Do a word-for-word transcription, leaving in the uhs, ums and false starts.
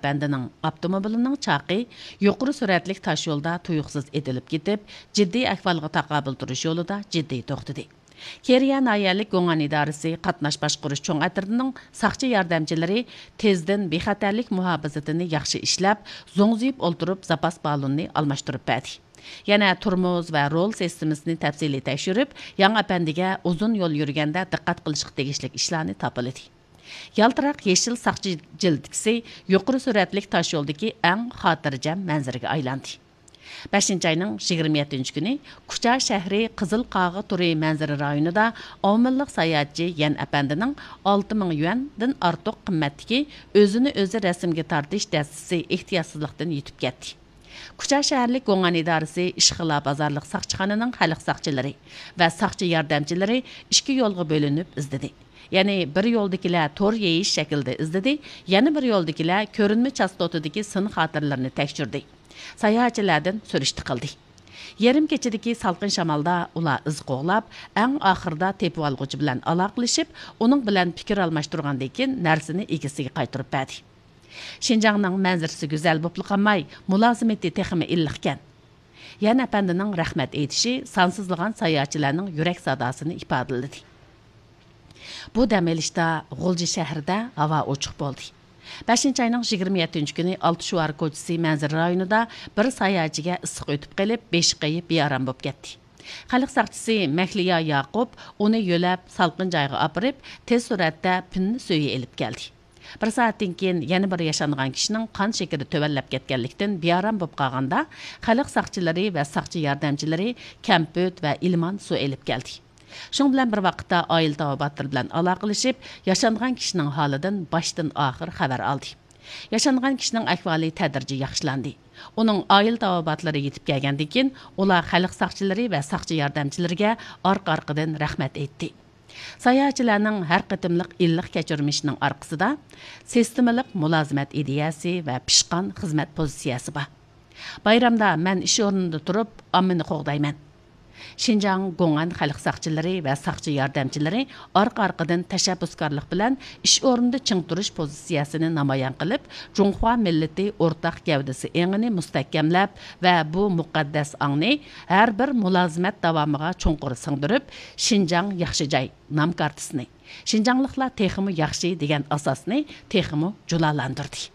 ئەپەندىنىڭ ئاپتوموبىلىنىڭ چاقى يۇقىرى سۈرئەتلىك تاشيولدا تۇيۇقسىز ئېتىلىپ كېتىپ، جىددىي ئەھۋالغا تاقابىل تۇرۇش يولىدا جىددىي توختىدى. كېرىيە ناھىيەلىك گوڭئەن ئىدارىسى قاتناش باشقۇرۇش چوڭ ئەترىتىنىڭ ساقچى ياردەمچىلىرى تېزدىن بىخەتەرلىك مۇھاپىزىتىنى ياخشى ئىشلەپ، زوڭزىيىپ ئولتۇرۇپ زاپاس بالوننى ئالماشتۇرۇپ بەردى. يەنە تورمۇز ۋە رول سىستېمىسىنى تەپسىلىي تەكشۈرۈپ، ياڭ ئەپەندىگە ئۇزۇن يول يۈرگەندە دىققەت قىلىشقا تېگىشلىك ئىشلارنى تاپىلىدى. يالتىراق يېشىل ساقچى جىلىتكىسى يۇقىرى سۈرئەتلىك تاشيولدىكى ئەڭ خاتىرجەم مەنزىرىگە ئايلاندى. بەشىنچى ئاينىڭ يىگىرمە يەتتىنچى كۈنى كۇچا شەھىرى قىزىل قاغا تورى مەنزىرە رايونىدا ئاۋمېنلىق ساياھەتچى يەن ئەپەندىنىڭ ئالتە مىڭ يۈەندىن ئارتۇق قىممەتتىكى ئۆزىنى ئۆزى رەسىمگە تارتىش دەستىسى ئېھتىياتسىزلىقتىن يىتىپ كەتتى. كۇچا شەھەرلىك گوڭئەن ئىدارىسى ئىشخىلا بازارلىق ساقچىخانىنىڭ خەلق ساقچىلىرى ۋە ساقچى ياردەمچىلىرى ئىككى يولغا بۆلۈنۈپ ئىزدىدى. يەنى بىر يولدىكىلەر تور يېيىش شەكلىدە ئىزدىدى، يەنە بىر يولدىكىلەر كۆرۈنمە چاستوتىدىكى سىن خاتىرىلىرىنى تەكشۈردى. ساياھەتچىلەردىن سۈرۈشتە قىلدى. يېرىم كېچىدىكى سالقىن شامالدا ئۇلار ئىز قوغلاپ، ئەڭ ئاخىرىدا تېپىۋالغۇچى بىلەن ئالاقىلىشىپ، ئۇنىڭ بىلەن پىكىر ئالماشتۇرغاندىن كېيىن نەرسىنى ئىگىسىگە قايتۇرۇپ بەردى. شىنجاڭنىڭ مەنزىرىسى گۈزەل بوپلا قالماي، مۇلازىمىتى تېخىمۇ ئىللىقكەن. يەن ئەپەندىنىڭ رەھمەت ئېيتىشى سانسىزلىغان ساياھەتچىلەرنىڭ يۈرەك ساداسىنى ئىپادىلىدى. بۇ دەم ئېلىشتا غۇلجا شەھىرىدە ھاۋا ئوچۇق بولدى. بەشىنچى ئاينىڭ يىگىرمە يەتتىنچى كۈنى ئالتە شوئار كوچىسى مەنزىرە رايونىدا بىر ساياھەتچىگە ئىسسىق ئۆتۈپ قېلىپ، بېشى قېيىپ، بىئارام بولۇپ كەتتى. خەلق ساقچىسى مەھلىيا ياقۇپ ئۇنى يۆلەپ، سالقىن جايغا ئاپىرىپ، تېز سۈرئەتتە پىننە سۈيى ئېلىپ كەلدى. بىر سائەتتىن كېيىن يەنە بىر ياشانغان كىشىنىڭ قان شېكىرى تۆۋەنلەپ كەتكەنلىكتىن، بىئارام بولۇپ قالغاندا، خەلق ساقچىلىرى ۋە ساقچى ياردەمچىلىرى كەمپۈت ۋە ئىلمان سۇ ئېلىپ كەلدى. شۇنىڭ بىلەن بىر ۋاقىتتا، ئائىلە تاۋابىئاتلىرى بىلەن ئالاقىلىشىپ، ياشانغان كىشىنىڭ ھالىدىن باشتىن ئاخىر خەۋەر ئالدى. ياشانغان كىشىنىڭ ئەھۋالى تەدرىجىي ياخشىلاندى. ئۇنىڭ ئائىلە تاۋابىئاتلىرى يېتىپ كەلگەندىن كېيىن، ئۇلار خەلق ساقچىلىرى ۋە ساقچى ياردەمچىلىرىگە ئارقا-ئارقىدىن رەھمەت ئېيتتى. ساياھەتچىلەرنىڭ ھەر قېتىملىق ئىللىق كەچۈرمىشىنىڭ ئارقىسىدا سىستېمىلىق مۇلازىمەت ئىدىيەسى ۋە پىشقان خىزمەت پوزىتسىيەسى بار. بايرامدا مەن ئىش ئورنىدا تۇرۇپ، ئاممىنى قوغدايمەن. شىنجاڭ گوڭئەن خەلق ساقچىلىرى ۋە ساقچى ياردەمچىلىرى ئارقا-ئارقىدىن تەشەببۇسكارلىق بىلەن ئىش ئورنىدا چىڭ تۇرۇش پوزىتسىيەسىنى نامايان قىلىپ، جۇڭخۇا مىللىتى ئورتاق گەۋدىسى ئېڭىنى مۇستەھكەملەپ ۋە بۇ مۇقەددەس ئاڭنى ھەر بىر مۇلازىمەت داۋامىغا چوڭقۇر سىڭدۈرۈپ، شىنجاڭ ياخشى جاي نام كارتىسىنى، شىنجاڭلىقلار تېخىمۇ ياخشى دېگەن ئاساسنى تېخىمۇ جۇلالاندۇردى.